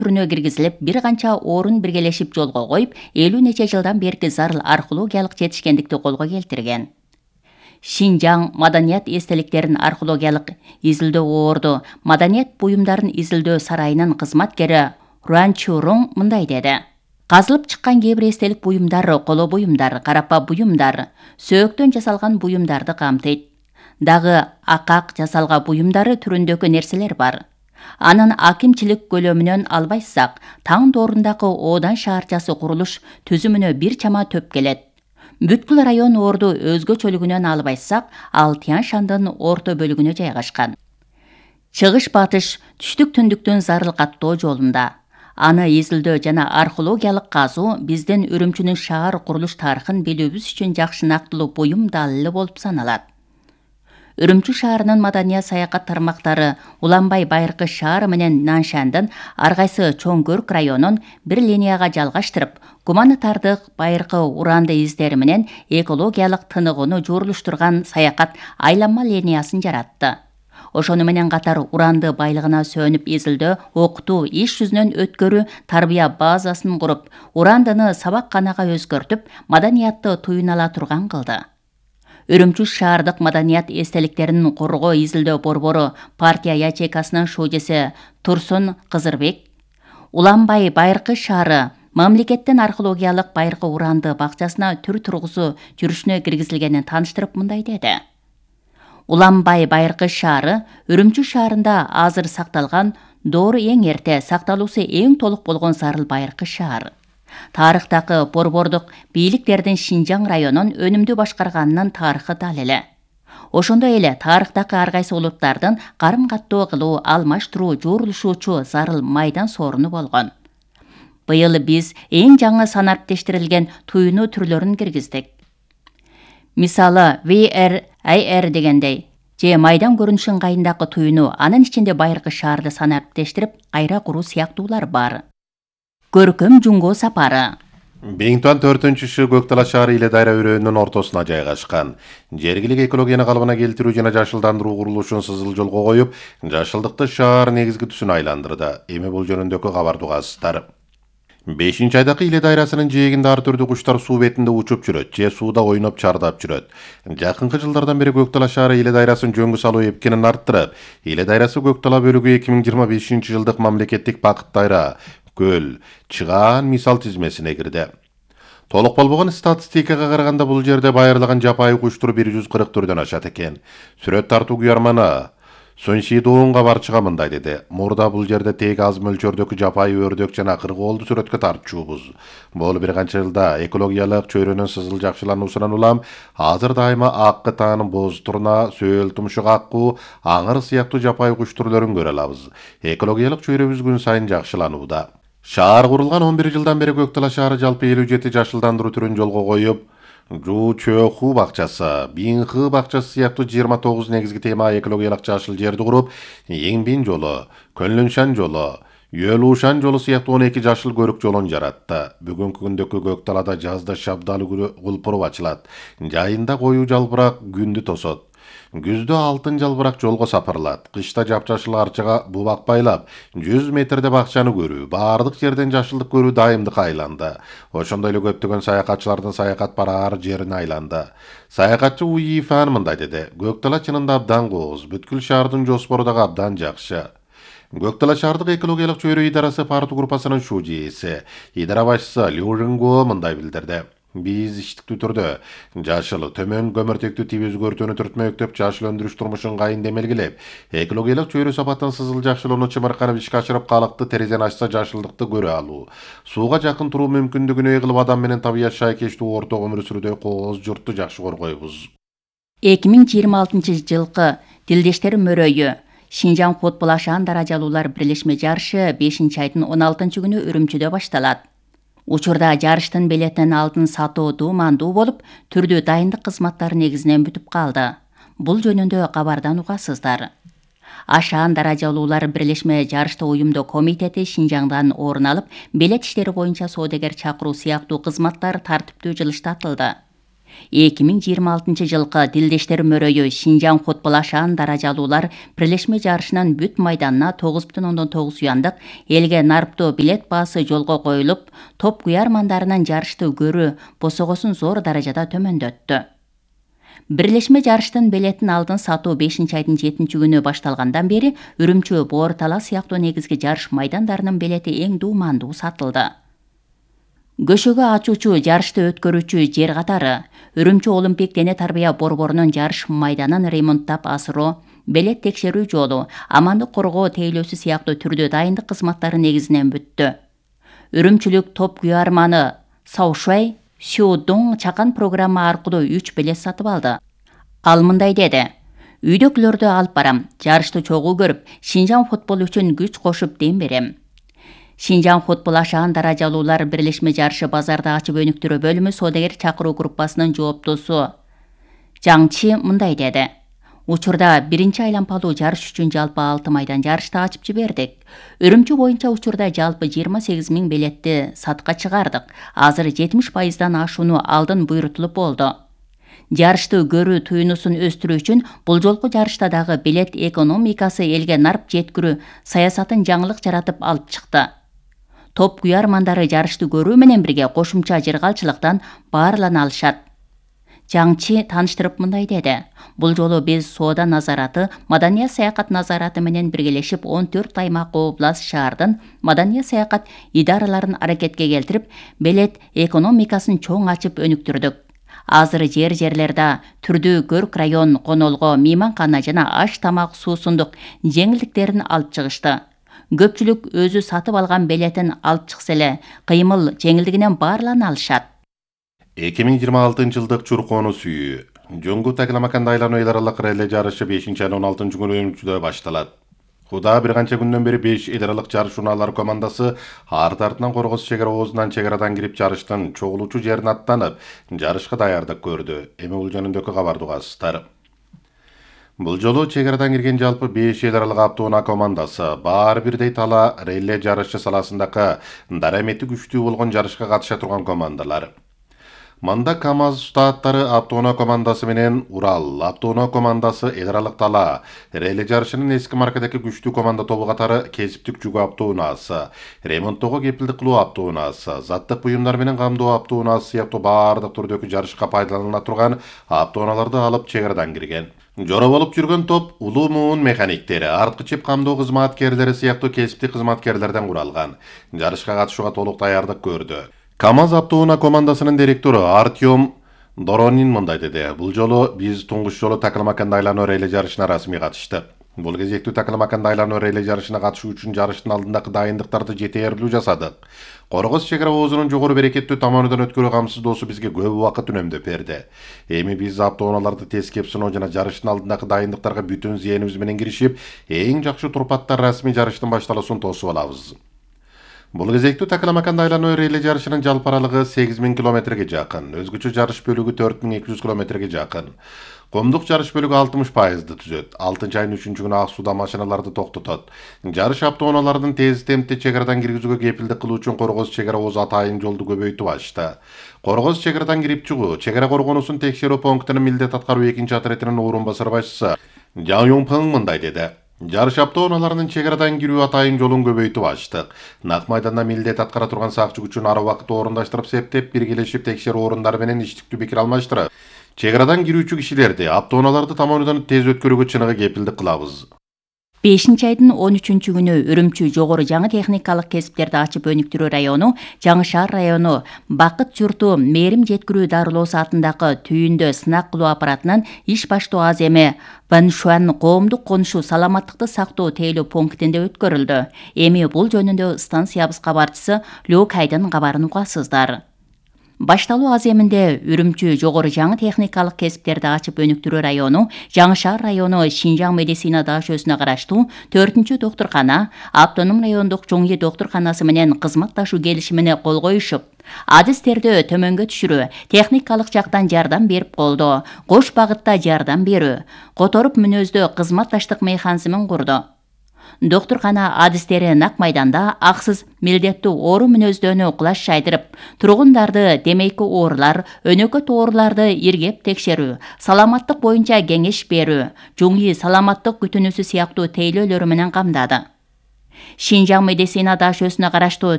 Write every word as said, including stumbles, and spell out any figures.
түрүнө киргизилип, бир канча орун биргелешип жолго коюп, элүү нече жылдан берки зарыл археологиялык жетишкендикти колго келтирген. Шинжаң маданият эстеликтерин археологиялык изилдөө орду маданият буюмдарын изилдөө сарайынын кызматкери Руан Чурун мындай деди. Казылып чыккан кээ бир эстелик буюмдар, коло буюмдар, карапа буюмдар, сөөктөн жасалган буюмдарды камтыйт. Дагы акак жасалга буюмдары түрүндөгү нерселер бар. Анын акимчилик көлөмүнөн албайсак, таң доорундагы Одан шаарчасы курулуш түзүмүнө бир чама төп келет. Бүткүл район орду өзгөчөлүгүнөн албайсак, ал Тянь Шандын орто бөлүгүнө жайгашкан. Чыгыш-батыш түштүк-түндүктүн зарыл каттоо жолунда. Аны изилдөө жана археологиялык казуу биздин Үрүмчүнүн шаар курулуш тарыхын билүүбүз үчүн жакшы нактылуу буюм далили болуп саналат. Үрүмчү шаарынын маданият саякат тармактары Уланбай Байыркы шаары менен Наншандын ар кайсы чоң көрк районун бир линияга жалгаштырып, гуманитардык байыркы уранды издери менен экологиялык тыныгууну жуурулуштурган саякат айланма линиясын жаратты. Ошону менен катар уранды байлыгына сөнүп изилдөө, окутуу, иш жүзүнөн өткөрүү, тарбия базасын куруп, урандыны сабакканага өзгөртүп, маданиятты туюна ала турган кылды. Үрүмчү шаардык маданият эстеликтерин коргоо изилдөө борбору партия ячейкасынын шужеси Турсун Кызырбек, Уланбай Байыркы шаары мамлекеттин археологиялык байыркы уранды бакчасына түр тургузуу жүрүшүнө киргизилгенин тааныштырып мындай деди. Уланбай Байыркы шаары Үрүмчү шаарында азыр сакталган доору эң эрте, сакталуусу эң толук болгон зарыл байыркы шаар. Тарыхтагы борбордук бийликтердин Шинжаң районун өнүмдүү башкарганынын тарыхы далили. Ошондой эле тарыхтагы ар кайсы улуттардын карым каттоо кылуу, алмаштыруу, жуурулушуучу зарыл майдан сооруну болгон. Быйыл биз эң жаңы санариптештирилген туюну түрлөрүн киргиздик. Мисалы, ви эр ай эр дегендей, же майдан көрүнүш ыңгайындагы туюну, анын ичинде байыркы шаарды санариптештирип, кайра куруу сыяктуулар бар. Көркөм Жумго сапары. Биңтуан төртүнчүсү Көктала шаары Иле Дайра өрөөнүнүн ортосуна жайгашкан. Жергилик экологияны калыбына келтирүү жана жашылдандыруу курулушун сызыл жолго коюп, жашылдыкты шаар негизги түсүнө айландырды. Эми бул жөнүндөгү кабарды угасыздар. бешинчи айдагы Иле Дайрасынын жээгинде ар түрдүү куштар суу бетинде учуп жүрөт, же сууда ойноп чардап жүрөт. Жакынкы жылдардан бери Көктала шаары Иле Дайрасын жөнгө салуу эпкенин арттырып, Иле Дайрасы Көктала бөлүгү эки миң жыйырма бешинчи жылдык мамлекеттик Бакыт Дайра, көл, чыгаан мисал тизмесине кирди. Толук болбогон статистикага караганда бул жерде байырлаган жапайы куш түрү бир жүз кырк түрдөн ашат экен. Сүрөт тартуу күйөрманы Сонши Доонга барчыга мындай деди. Мурда бул жерде тек аз мөлчөрдөгү жапайы өрдөк жана кыргоолду сүрөткө тартчубуз. Бул бир канча жылда экологиялык чөйрөнүн сызыл жакшылануусунан улам азыр дайыма аккы таанын боз турна, сөөл тумшук аккуу, аңыр сыяктуу жапайы куш түрлөрүн көрө алабыз. Экологиялык чөйрөбүз күн сайын жакшыланууда. Шаар курулган он бир жылдан бери Көктала шаары жалпы элүү жети жашылдандыруу түрүн жолго коюп, Жу Чөөху бакчасы, Бинхы бакчасы сыяктуу жыйырма тогуз негизги тема экологиялык жашыл жерди куруп, Эңбин жолу, Көнлүншан жолу, Юөлушан жолу сыяктуу он эки жашыл көрүк жолун жаратты. Бүгүнкү күндөгү Көкталада жазда шабдалы гүлпуруп ачылат, жайында коюу жалбырак күндү тосот. Күздө алтын жалбырак жолго сапырылат. Кышта жапжашыл арчага бубак байлап, жүз метрде бакчаны көрүү, баардык жерден жашылдык көрүү дайымдыкка айланды. Ошондой эле көптөгөн саякатчылардын саякат бараар жерине айланды. Саякатчы Уифан мындай деди. Көктала чынында абдан кооз, бүткүл шаардын жоспору дагы абдан жакшы. Көктала шаардык экологиялык чөйрө идарасы парту группасынын шужеси, идара башчысы Лю Рынго мындай билдирди. Биз иштиктүү түрдө жашыл төмөн көмөртектүү тип өзгөртүүнү түртмөктөп, жашыл өндүрүш турмушун кайын демелгилеп, экологиялык чөйрө сапатын сызыл жакшылоону чымырканып ишке ашырып, калыкты терезени ачса жашылдыкты көрө алуу, сууга жакын туруу мүмкүндүгүнө ээ кылып, адам менен табият шайкештүү орто өмүр сүрүүдө кооз журтту жакшы коргойбуз. эки миң жыйырма алтынчы жылкы Тилдештер мөрөйү Шинжаң футбол ашаан даражалуулар бирлешме жарышы бешинчи айдын он алтынчы күнү Үрүмчүдө башталат. Учурда жарыштын билетин алдын сатуу дуумандуу болуп, түрдүү дайындык кызматтары негизинен бүтүп калды. Бул жөнүндө кабардан угасыздар. Ашаан даражалуулар бирлешме жарышты уюмдоо комитети Шинжаңдан орун алып, билет иштери боюнча соодагер чакыруу сыяктуу кызматтар тартиптүү жылыштатылды. эки миң жыйырма алтынчы жылкы Тилдештер мөрөйү Шинжаң футбол ашаан даражалуулар бирлешме жарышынын бүт майданына тогуз бүтүн ондон тогуз уяндык элге нарптоо билет баасы жолго коюлуп, топ куярмандарынын жарышты көрүү босогосун зор даражада төмөндөттү. Бирлешме жарыштын билетин алдын сатуу бешинчи айдын жетинчи күнү башталгандан бери Үрүмчү, Боор Тала сыяктуу негизги жарыш майдандарынын билети эң дуумандуу сатылды. Көшөгө ачуучу жарышты өткөрүүчү жер катары Үрүмчү Олимпик дене тарбия борборунун жарыш майданын ремонттап асыруу, билет текшерүү жолу, амандык коргоо тейлөөсү сыяктуу түрдүү дайындык кызматтары негизинен бүттү. Үрүмчүлүк топ куярманы Саушай Сюдун чакан программа аркылуу үч билет сатып алды. Ал мындай деди: "Үйдөкүлөрдү алып барам, жарышты чогуу көрүп, Шинжаң футбол үчүн күч кошуп дем берем." Шинжаң футбол ашаан даражалуулар бирлешме жарышы базарды ачып өнүктүрүү бөлүмү соодагер чакыруу группасынын жооптосу Жаңчи мындай деди: "Учурда биринчи айлампалуу жарыш үчүн жалпы алты майдан жарышты ачып жибердик. Үрүмчү боюнча учурда жалпы жыйырма сегиз миң билетти сатка чыгардык. Азыр жетимиш пайыздан ашууну алдын буйрутулуп болду. Жарышты көрүү туюнусун өстүрүү үчүн бул жолку жарышта дагы билет экономикасы элге нарп жеткирүү саясатын жаңылык жаратып алып чыкты. Топ куярмандары жарышты көрүү менен бирге кошумча жыргалчылыктан баарлана алышат." Жаңчи тааныштырып мындай деди: "Бул жолу биз соода назараты, маданият саякат назараты менен биргелешип он төрт аймак област шаардын маданият саякат идараларын аракетке келтирип, билет экономикасын чоң ачып өнүктүрдүк. Азыр жер-жерлерде түрдүү көрк район, конолго, мейманкана жана аш тамак суусундук жеңилдиктерин алып чыгышты. Көпчүлүк өзү сатып алган билетин алып чыкса эле, кыймыл жеңилдигинен баарлана алышат." эки миң жыйырма алтынчы жылдык Чуркону сүйүү Жоңгу Такламаканда айлануу эл аралык реле жарышы бешинчи айдын он алтынчы күнү Үрүмчүдө башталат. Куда бир канча күндөн бери беш эл аралык жарыш унаалар командасы арт артынан Коргоз чек ара оозунан чек арадан кирип жарыштын чогулуучу жерине аттанып, жарышка даярдык көрдү. Эми бул жөнүндөгү кабарды угасыздар. Бул жолу чек арадан кирген жалпы беш эл аралык автоунаа командасы баары бирдей тала реле жарышы саласындагы дарамети күчтүү болгон жарышка катыша турган командалар. Манда КамАЗ штаттары автоунаа командасы менен Урал автоунаа командасы эл аралык тала реле жарышынын эски маркадагы күчтүү команда тобу катары кесиптик жүк автоунаасы, ремонттоого кепилдик кылуу автоунаасы, заттык буюмдар менен камдоо автоунаасы сыяктуу баардык түрдөгү жарышка пайдаланыла турган автоунааларды алып чек арадан кирген. Жора болуп жүргөн топ улуу муун механиктери, арткы чеп камдоо кызматкерлери сыяктуу кесиптик кызматкерлерден куралган. Жарышка катышууга толук даярдык көрдү. КамАЗ автоунаа командасынын директору Артем Доронин мындай деди: "Бул жолу биз туңгуч жолу Такламаканда айлануу реле жарышына расмий катыштык. Бул кезектүү Такламаканда айлануу реле жарышына катышуу үчүн жарыштын алдындагы дайындыктарды жетээрлүү жасадык. Коргоз чек ара оозунун жогору берекеттүү таманынан өткөрүү камсыздоосу бизге көп убакыт үнөмдөп берди. Эми биз автоунааларды тескеп сыноо жана жарыштын алдындагы дайындыктарга бүтүн зээнибиз менен киришип, эң жакшы турпаттар расмий жарыштын башталуусун тосуп алабыз." Бул кезектүү Такламаканда айлануу реле жарышынын жалпы аралыгы сегиз миң километрге жакын, өзгөчө жарыш бөлүгү төрт миң эки жүз километрге жакын. Комдук жарыш бөлүгү алтымыш пайызды түзөт. алтынчы айдын үчүнчү күнү ак сууда машиналарды токтотот. Жарыш автоунаалардын тез темпте чек арадан киргизүүгө кепилдик кылуу үчүн Коргоз чек ара оозу атайын жолду көбөйтүп ачты. Коргоз чек арадан кирип чыгуу, чек ара коргонусун текшерүү пунктунун милдет аткаруу экинчи отрядынын орун басар башчысы Жан Юнпың мындай деди: "Жарыш автоунааларынын чек арадан кирүү атайын жолун көбөйтүп ачтык. Нак майданда милдет аткара турган сакчы күчүн ар убакытта орундаштырып септеп, биргелешип текшерүү орундары менен иштиктүү пикир алмаштырып, чек арадан кирүүчү кишилерди, автоунааларды таманынан тез өткөрүүгө чыныгы кепилдик кылабыз." бешинчи айдын он үчүнчү күнү Үрүмчү жогору жаңы техникалык кесиптерди ачып өнүктүрүү району, Жаңы шаар району Бакыт журту мээрим жеткирүү дарылоосу атындагы түйүндө сынак кылуу аппаратынын иш баштоо аземи Баншуан коомдук конушуу саламаттыкты сактоо тейлөө пунктинде өткөрүлдү. Эми бул жөнүндө станциябыз кабарчысы Лёк Айдын кабарын угасыздар. Башталуу аземинде Үрүмчү жогору жаңы техникалык кесиптерди ачып өнүктүрүү району, Жаңы шаар району Шинжаң медицина дашөөсүнө караштуу төртүнчү доктуркана, автоном райондук Жоңи доктурканасы менен кызматташуу келишимине кол коюшуп, адистерди төмөнгө түшүрүү, техникалык жактан жардам берип колдоо, кош багытта жардам берүү, которуп мүнөздөө кызматташтык механизмин курду. доктуркана адистери нак майданда аксыз милдеттүү оору мүнөздөнүү кулаш жайдырып, тургундарды темеки оорулар, өнөкөт ооруларды иргеп текшерүү, саламаттык боюнча кеңеш берүү, жуңуй саламаттык күтүнүүсү сыяктуу тейлөөлөрү менен камдады. Шинжаң медицина дашөсүнө караштуу